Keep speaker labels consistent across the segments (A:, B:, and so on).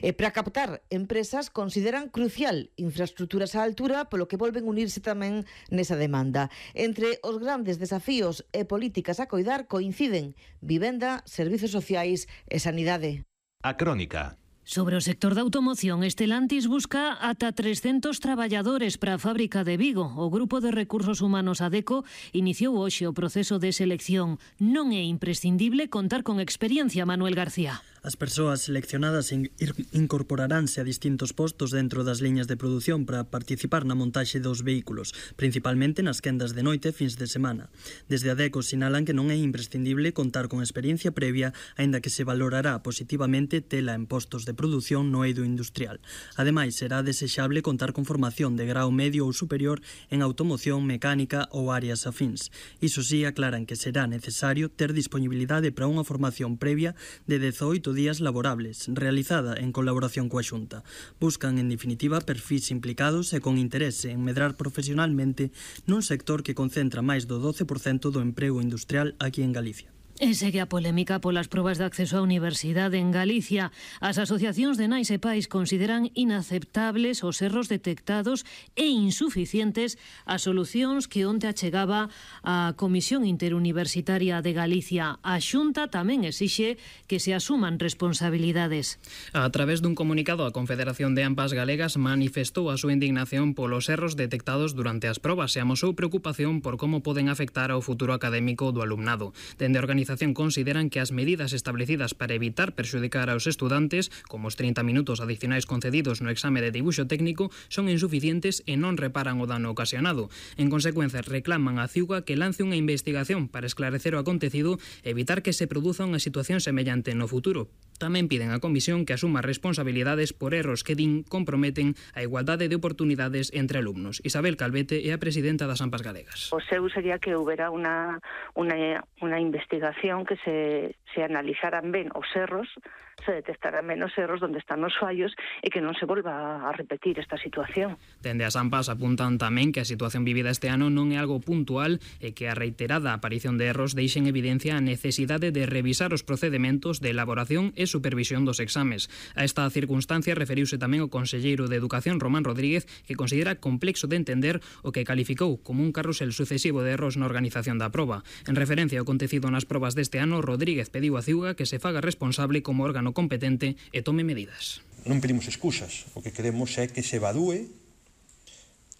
A: E para captar empresas consideran crucial infraestruturas á altura, polo que volven unirse tamén nesa demanda. Entre os grandes desafíos e políticas a coidar coinciden vivenda, servizos sociais e sanidade.
B: A Crónica.
C: Sobre o sector da automoción, Stellantis busca ata 300 traballadores para a fábrica de Vigo. O Grupo de Recursos Humanos ADECO iniciou hoxe o proceso de selección. Non é imprescindible contar con experiencia, Manuel García.
D: As persoas seleccionadas incorporaránse a distintos postos dentro das liñas de produción para participar na montaxe dos vehículos, principalmente nas quendas de noite e fins de semana. Desde ADECO sinalan que non é imprescindible contar con experiencia previa, aínda que se valorará positivamente tela en postos de produción no eido industrial. Ademais, será desexable contar con formación de grau medio ou superior en automoción, mecánica ou áreas afíns. Iso sí, aclaran que será necesario ter disponibilidade para unha formación previa de 18 días laborables, realizada en colaboración coa Xunta. Buscan, en definitiva, perfis implicados e con interese en medrar profesionalmente nun sector que concentra máis do 12% do emprego industrial aquí en Galicia.
C: E segue a polémica polas probas de acceso á universidade en Galicia. As asociacións de nais e pais consideran inaceptables os erros detectados e insuficientes as solucións que onte achegaba a Comisión Interuniversitaria de Galicia. A Xunta tamén exixe que se asuman responsabilidades.
E: A través dun comunicado, a Confederación de AMPAs Galegas manifestou a súa indignación polos erros detectados durante as probas e amosou preocupación por como poden afectar ao futuro académico do alumnado. Dende a organización consideran que as medidas establecidas para evitar perxudicar aos estudantes, como os 30 minutos adicionais concedidos no exame de dibuixo técnico, son insuficientes e non reparan o dano ocasionado. En consecuencia, reclaman á CIUGA que lance unha investigación para esclarecer o acontecido e evitar que se produza unha situación semellante no futuro. Tamén piden á Comisión que asuma responsabilidades por erros que din comprometen a igualdade de oportunidades entre alumnos. Isabel Calvete é a presidenta das AMPAs Galegas.
F: O seu sería que houbera unha investigación que se analizaran ben os erros, se detectaran ben os erros onde están os fallos e que non se volva a repetir esta situación.
E: Dende as AMPAs apuntan tamén que a situación vivida este ano non é algo puntual e que a reiterada aparición de erros deixa en evidencia a necesidade de revisar os procedementos de elaboración e supervisión dos exames. A esta circunstancia referiuse tamén o conselleiro de Educación, Román Rodríguez, que considera complexo de entender o que calificou como un carrusel sucesivo de erros na organización da proba. En referencia ao acontecido nas probas deste ano, Rodríguez pediu a CIUGA que se faga responsable como órgano competente e tome medidas.
G: Non pedimos excusas, o que queremos é que se evadúe,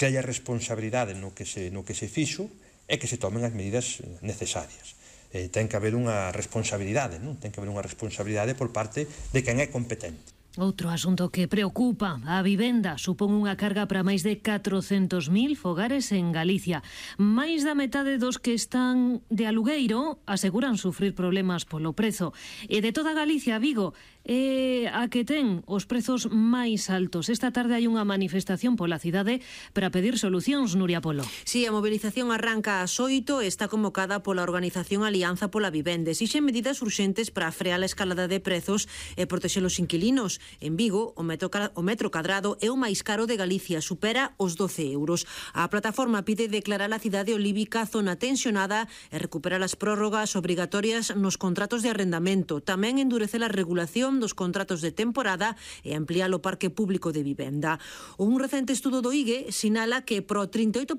G: que haya responsabilidade no que se fixo e que se tomen as medidas necesarias. Ten que haber unha responsabilidade, non? Ten que haber unha responsabilidade por parte de quen é competente.
C: Outro asunto que preocupa a vivenda supón unha carga para máis de 400.000 fogares en Galicia. Máis da metade dos que están de alugueiro aseguran sufrir problemas polo prezo. E de toda Galicia, Vigo é a que ten os prezos máis altos. Esta tarde hai unha manifestación pola cidade para pedir solucións, Nuria Polo.
H: Si, a mobilización arranca ás 8 e está convocada pola organización Alianza pola Vivenda. Exixen medidas urxentes para frear a escalada de prezos e protexer os inquilinos. En Vigo, o metro cadrado é o máis caro de Galicia, supera os 12 euros. A plataforma pide declarar a cidade olívica zona tensionada e recuperar as prórrogas obrigatorias nos contratos de arrendamento. Tamén endurecer a regulación dos contratos de temporada e ampliar o parque público de vivenda. Un recente estudo do IGE sinala que pro 38%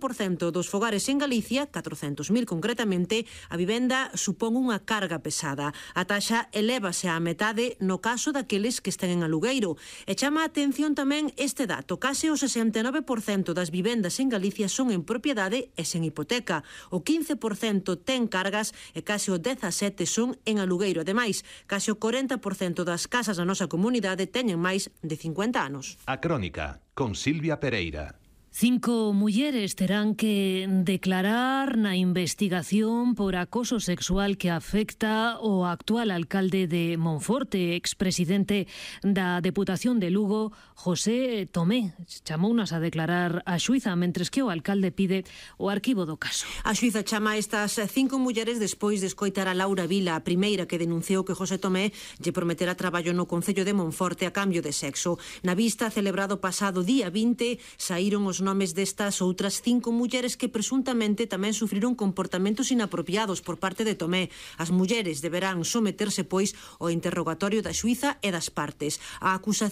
H: dos fogares en Galicia, 400.000 concretamente, a vivenda supón unha carga pesada. A taxa elévase á metade no caso daqueles que estén en alugueiro. E chama a atención tamén este dato. Case o 69% das vivendas en Galicia son en propiedade e sen hipoteca. O 15% ten cargas e case o 17% son en alugueiro. Ademais, case o 40% das casas da nosa comunidade teñen máis de 50 anos.
B: A Crónica, con Silvia Pereira.
C: 5 mulleres terán que declarar na investigación por acoso sexual que afecta o actual alcalde de Monforte, expresidente da Deputación de Lugo, José Tomé. Chamounas a declarar a xuíza, mentres que o alcalde pide o arquivo do caso.
H: A xuíza chama a estas 5 mulleres despois de escoitar a Laura Vila, a primeira que denunciou que José Tomé lle prometera traballo no Concello de Monforte a cambio de sexo. Na vista celebrado pasado día 20, saíron os nomes destas outras 5 mulleres que presuntamente tamén sufriron comportamentos inapropiados por parte de Tomé. As mulleres deberán someterse, pois, ao interrogatorio da xuíza e das partes. A acusación